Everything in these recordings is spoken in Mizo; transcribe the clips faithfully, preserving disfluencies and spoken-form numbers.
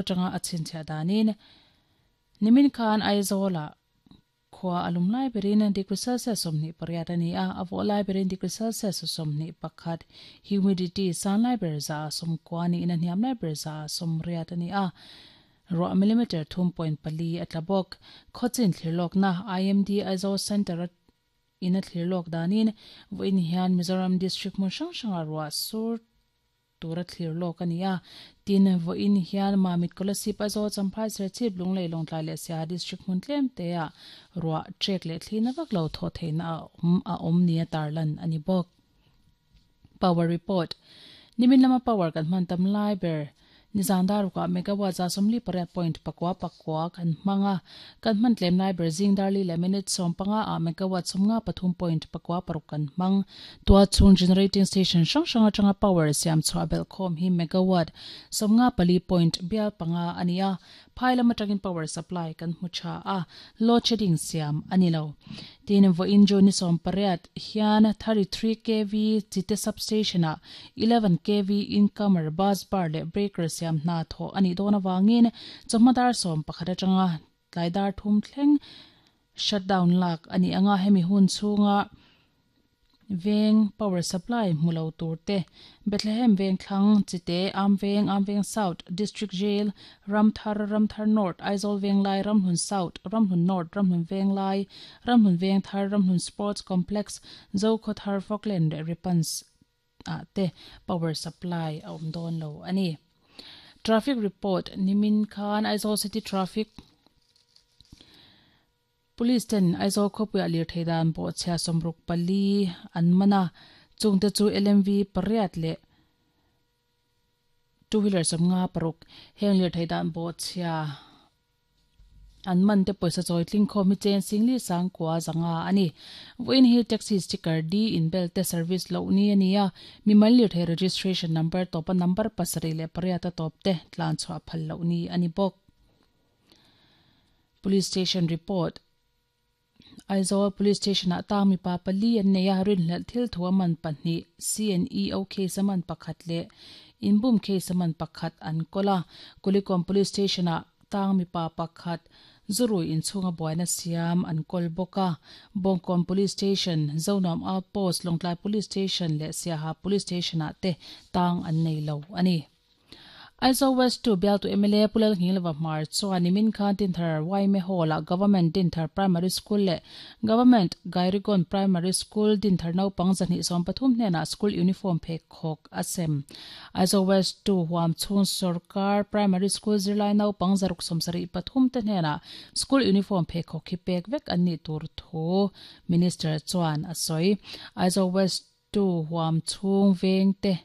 Atanga a chhinchhiah danin nimin khan Aizawl ah khua a lum lai berin degree Celsius sawmhnih pariat a ni a, a vawh lai berin degree Celsius sawmhnih pakhat, humidity san lai ber za ah sawmkua niin a hniam lai ber za ah sawmriat a ni a, ruah millimeter thum point pali a tla bawk. Khawchin thlirlawkna I M D Aizawl Centre in a thlirlawk danin vawiin hian Mizoram District hmun hrang hrangah ruah sur tura thlirlawk a ni a, tin vawiin hian Mamit Kolasib Aizawl Champhai Serchhip Lunglei Lawngtlai leh Siaha District hmun tlem te ah ruah trek leh thlina vak lo thawh theihna a awm a awm nia tarlan a ni bawk. Power report. Nimin lama power kan hman tam lai ber nizan darukah megawatt za sawmli pariat point pakua pakua kan hmang a, kan hman tlem lai ber zing darli leh minute sawm panga ah megawatt sawmnga pathum point pakua paruk kan hmang. Tua chhung generating station hrang hrang atanga power siam chhuah belh khawm hi megawatt sawmnga pali point bial panga a ni a, phai lam atangin power supply kan hmu tha a, load shedding siam a ni lo. Tin vawiin June ni sawm pariat hian thirty three K V Chite substation ah eleven K V incomer bus bar leh breaker siam hna thaw a nih dawn awangin chawhma dar sawm pakhat atanga tlai dar thum thleng shutdown lak a ni anga hemi hun chhunga veng power supply hmu lo tur te Bethlehem veng thlang Chite Amveng Amveng South District Jail Ramthar Ramthar North Aizawl Venglai Ramhlun South Ramhlun North Ramhlun Venglai Ramhlun Vengthar Ramhlun Sports Complex Zokhawthar Falkland leh Ripans ah te power supply a awm dawn lo a ni. Traffic report nimin khan Aizawl City Traffic Police ten Aizawl khawpuiah lirthei dan pawh chhia sawmruk pali an man a, chungte chu L M V pariat leh two wheeler sawmnga paruk heng lirthei dan pawh chhia an man te pawisa chawi tling khawm hi chen singli sangkua zanga a ni. Vawiin hi taxi sticker D in bel te service loh ni a ni a, mimal lirthei registration number tawpa number pasarih leh pariat a tawp te tlan chhuah phal loh ni a ni bawk. Police station report. Aizawl Police Station ah tang mipa pali an nei a, rinhlelh thil thu a man pahnih C and E O case a man pakhat leh inbum case a man pakhat an kawl a. Kulikom Police Station ah tang mipa pakhat zurui inchhunga buaina siam an kawl bawk a. Bawngkawn Police Station, Zonuam Outpost, Lawngtlai Police Station leh Siaha Police Station ah te tang an nei lo a ni. Aizawl West two bialtu M L A Pulal Ngilva Hmar chuan nimin khan Dinthar Waime Hall ah Government Dinthar Primary School leh Government Gairigon Primary School Dinthar naupang zahnih sawm pathum hnenah school uniform phek khawk a sem. Aizawl West two huam chhung sarkar Primary School zirlai naupang zaruk sawm sarih pathum te hnenah school uniform phek khawk hi pek vek an nih tur thu Minister chuan a sawi. Aizawl West two huam chhung veng te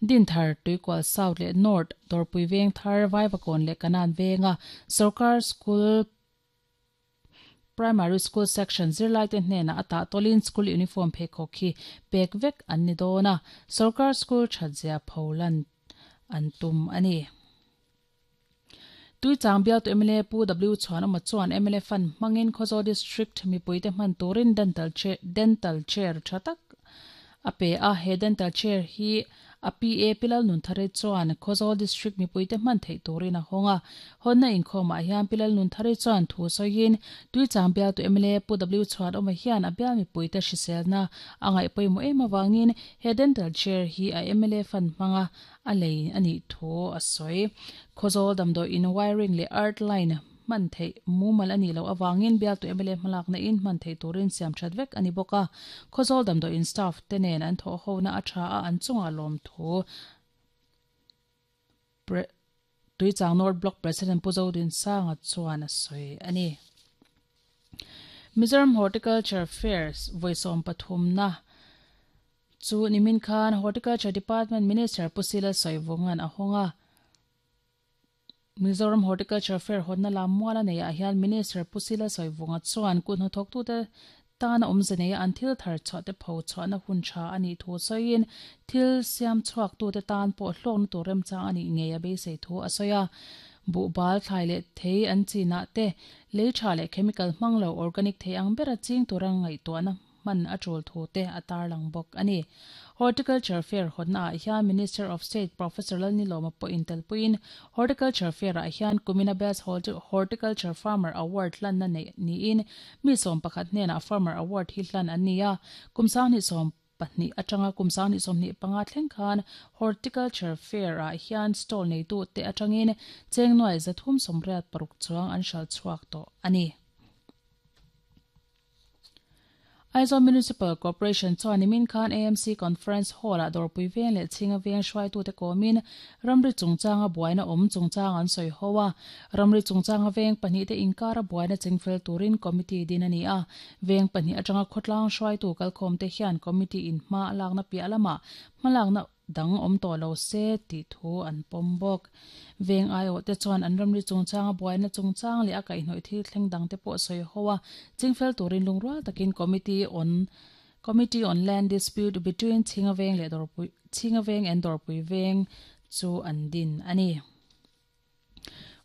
Dinthar Tuikual South leh North Dorpui Veng Thar Vaivakawn leh Kanan Venga sarkar School Primary School Section zirlai te hnenah a tah tawlin school uniform phek khawk hi pek vek an ni dawn a, sarkar school thatzia pholan an tum a ni. Tuichang bialtu M L A Pu W Chhuanawma chuan M L A fund hmangin Khawzawl District mipuite hman turin dental chair dental chair tha tak a pe a, he dental chair hi a P A Pilal Nunthare chuan Khawzawl District mipuite hman theih turin a hawng a. Hawnna inkhawmah hian Pilal Nunthare chuan thu sawiin Tuichang bialtu M L A Pu W Chhuanawma hian a bial mipuite hriselna a ngaih pawimawh em awangin he dental chair hi a M L A fund hmanga a lei a nih thu a sawi. Khawzawl damdawi in wiring leh earth line hman theih mumal a nih loh awangin bialtu M L A hmalakna in hman theih turin siam that vek a ni bawk a. Khawzawl damdawi in staff te nen an thawh hona a tha a an chungah lawm thu Tuichang North Block President Pu Zodin Sanga chuan a sawi a ni. Mizoram Horticulture Fairs vawi sawm pathum na chu nimin khan Horticulture Department Minister Pu Sila Sawivungan a hawng a. Mizoram Horticulture Fair hawnna lam mual a nei ah hian Minister Pu Sila Sawivunga chuan kut hnathawk tute tan a awmze nei a an thil thar chhuah te pho chhuahna hun tha a nih thu sawiin thil siam chhuak tute tan pawh hlawkna tur remchang a nih ngei a beisei thu a sawi a. Buhbal thlai leh thei an chinah te lei tha leh chemical hmang lo organic thei ang bera ching tura ngaihtuahna hman a tul thu te a tarlang bawk ani. Horticulture Fair hotna ah hian Minister of State Professor Lalnilawma pawh intelpuiin Horticulture Fair ah hian Kumina Best Horticulture Farmer Award hlanna nei niin mi sawm pakhat hnenah Farmer Award hi hlan an ni a. Kum sanghnih sawm pahnih atanga kum sanghnih sawmhnih panga thleng khan Horticulture Fair ah hian stall neitu te atangin chengnuai zathum sawmriat paruk chuang an hral chhuak tawh ani. Aizawl Municipal Corporation chuan nimin khan A M C Conference Hall ah dawrpui veng leh chhinga veng hruaitute kawmin ramri chungchanga buaina awm chungchang an sawi ho a. Ramri chungchanga veng pahnih te inkara buaina chingfel turin committee din ani a. Veng pahnih atanga khawtlang hruaitu kalkhawm te hian committee in hma a lakna piah lama hmalakna dang awm tawh lo se tih thu an pawm bawk. Veng aiawh te chuan an ramri chungchanga buaina chungchang leh a kaihhnawih thil thleng dang te pawh sawi ho a. Chingfel turin lungrual takin committee on Committee on Land Dispute between Chhinga Veng leh Dawrpui Chhinga Veng and Dawrpui Veng chu an din ani.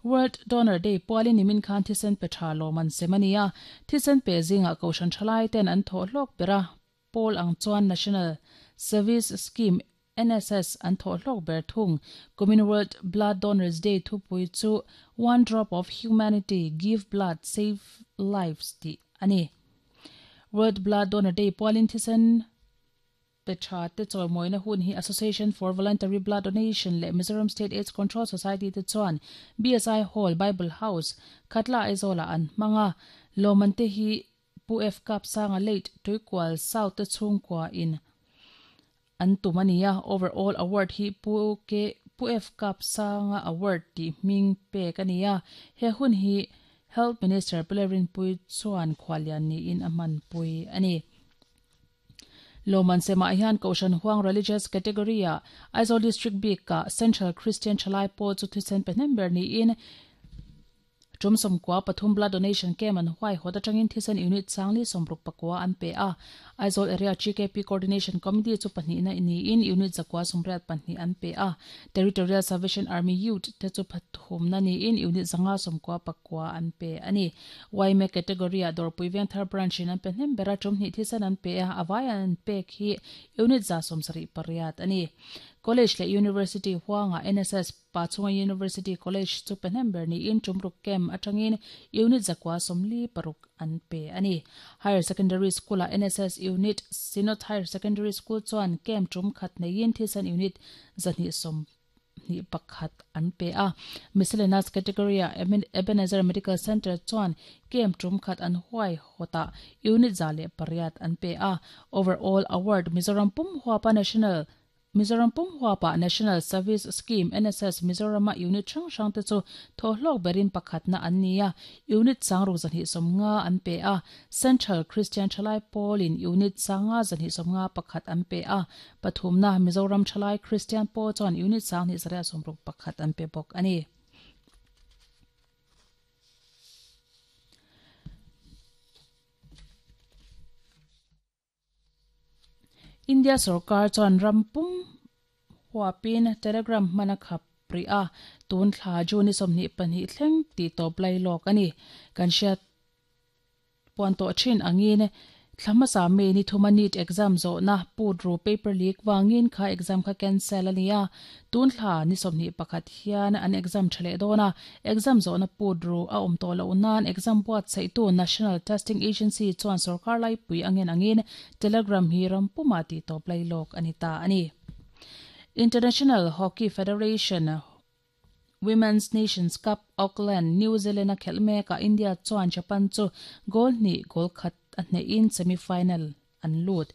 World Donor Day pualin nimin khan thisen pe tha lawman semania thisen pe zinga kohhran thalai ten an thaw hlawk bera pawl ang chuan National Service Scheme N S S an thaw hlawk ber thung. Kumin World Blood Donors Day thupui chu One Drop of Humanity Give Blood Save Lives ti ani. World Blood Donor Day pualin thisen pe tha te chawimoina hun hi Association for Voluntary Blood Donation leh Mizoram State AIDS Control Society te chuan B S I Hall Bible House Khatla Aizawl ah an hmanga. Lawman te hi Pu F Kap Sanga late Tuikual South te chhungkua in an tum ani a. Overall award hi Pu K Pu F Kap Sanga Award ti hming pek ani a. He hun hi Health Minister Pilerin Pui chuan khwalian ni in a hman pui ani. Lawman sema hian Kohhran Huang Religious Category ah Aizawl District bik ka Central Christian Thalai pawl chu thisen pe hnem ber niin tum sawmkua pathum blood donation camp an huai hawt atangin thisen unit sangli sawmruk pakua an pe a. Aizawl Area G K P Coordination Committee chu pahnihna niin unit zakua sawmriat pahnih an pe a. Territorial Salvation Army Youth te chu pathumna niin unit zanga sawmkua pakua an pe ani. Y M A category ah Dawrpui Vengthar branch in an pe hnem bera tum hnih thisen an pe a. Awai an pek hi unit za sawmsarih pariat ani. College leh University huanga N S S Pachhunga University College chu pe hnem ber niin tumruk camp atangin unit zakua sawmli paruk an pe ani. Higher Secondary School ah N S S unit Synod Higher Secondary School chuan camp tum khat neiin thisen unit zahnih sawmhnih pakhat an pe a. Miscellaneous category ah Ebenezer Medical Center chuan camp tum khat an huai hawtah unit za leh pariat an pe a. Overall award Mizoram pum huapa National Mizoram pum huapa National Service Scheme N S S Mizorama unit hrang hrang te chu thaw hlawk berin pakhatna an ni a. Unit sangruk zahnih sawmnga an pe a. Central Christian Thalai Pawl in unit sanga zahnih sawmnga pakhat an pe a. Pathumna Mizoram Thalai Christian Pawl chuan unit sanghnih zariat sawmruk pakhat an pe bawk ani. India sarkar chuan rampum huapin Telegram hmana khap pri a tun thla June sawmhnih pahnih thleng ti tawp lai lawk ani. Kan hriat puan tawh thin angin thlamasa me ni thuma NEET exam zawhna put ru paper leak wangin kha exam kha cancel ani a. Tun thla ni sawmhnih pakhat hian an exam tha leh dawn a. Exam zawhna put ru a awm tawh loh nan exam buatsaih tu National Testing Agency chuan sarkar lai pui angin angin Telegram hi rampuma ti tawp lai lawk ani ta ani. International Hockey Federation Women's Nations Cup Auckland New Zealand a khelh mek a India chuan Japan chu goal hnih goal khat a hnehin semi-final an lut.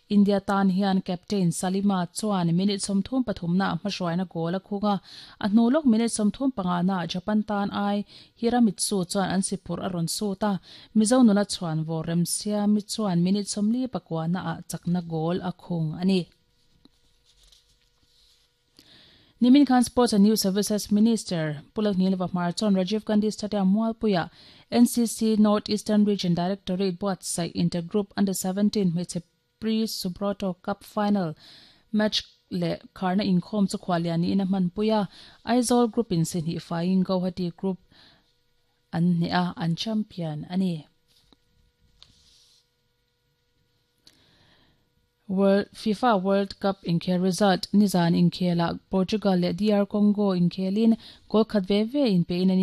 India tan hian captain Salima chuan minute sawmthum pathumna a hmahruaina goal a khunga. A hnu lawk minute sawmthum panga na Japan tan ai Hiramitsu chuan an sipur a rawn sut a. Mizo nula chuan vaw remsiami chuan minute sawmli pakua na ah chakna goal a khung ani. Nimin Khan Sports and Youth Services Minister Pulak Nilva Hmar chuan Rajiv Gandhi Stadium Mualpuia N C C North Eastern Region Directorate buatsaih Intergroup Under seventeen hmeichhe Pre-Subroto Cup Final match leh kharna inkhawm chu khwalian niin a hmanpui a. Aizawl Group in sihnih faiin Guwahati Group an hne a, an champion ani. World FIFA World Cup inkhel result nizan inkhela Portugal leh DR Congo inkhelin goal khat ve ve in pe in an